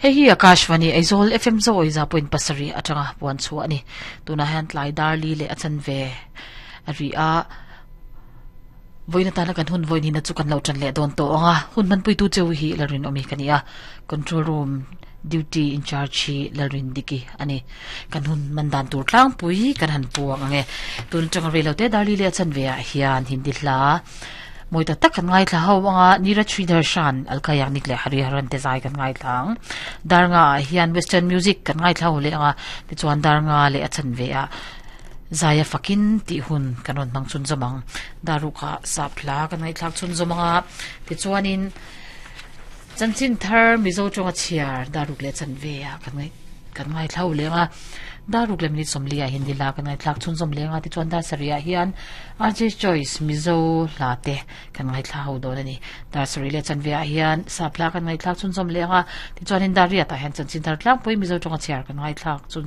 Hei hi Akashvani Aizawl FM zawi za point pasarih atanga puan chhuah a ni. Tunah hian tlai dar li leh a chanve a ri a, vawiin atana kan hun vawiin hina chu kan lo tan leh dawn tawh ang a, hun hmanpuitu cheu hi Lalrinawmi ka ni a, control room duty in charge hi Lalrindiki a ni. Kan hun hman dan tur tlangpui kan han puang ang e. Tun atanga reilote dar li leh a chanve ah hian Hindi hla Mawi tak tak kan ngaithla ho anga Neeraj Sridharshan, Alka Yagnik leh Hari Haran te zai kan ngaithla ang. Dar nga ah hian Western music kan ngaithla ho leh anga tichuan dar nga leh a chanve ah zaia fakin tih hun kan rawn hmang chhunzawm ang. Dar ruk ah sap hla kan ngaihthlak chhunzawm anga tichuanin chanchin thar Mizo tawnga chhiar dar ruk leh chanve ah kan ngaih kan ngaithla ho leh anga dar ruk leh minute sawmli ah Hindi hla kan ngaihthlak chhunzawm leh anga tichuan dar sarih ah hian RJ Choice Mizo hla te kan ngaithla ho dawn a ni. Dar sarih leh chanve ah hian sap hla kan ngaihthlak chhunzawm leh ang a, tichuanin dar riat ah hian chanchin thar tlangpui Mizo tawnga chhiar kan ngaithlak chhun.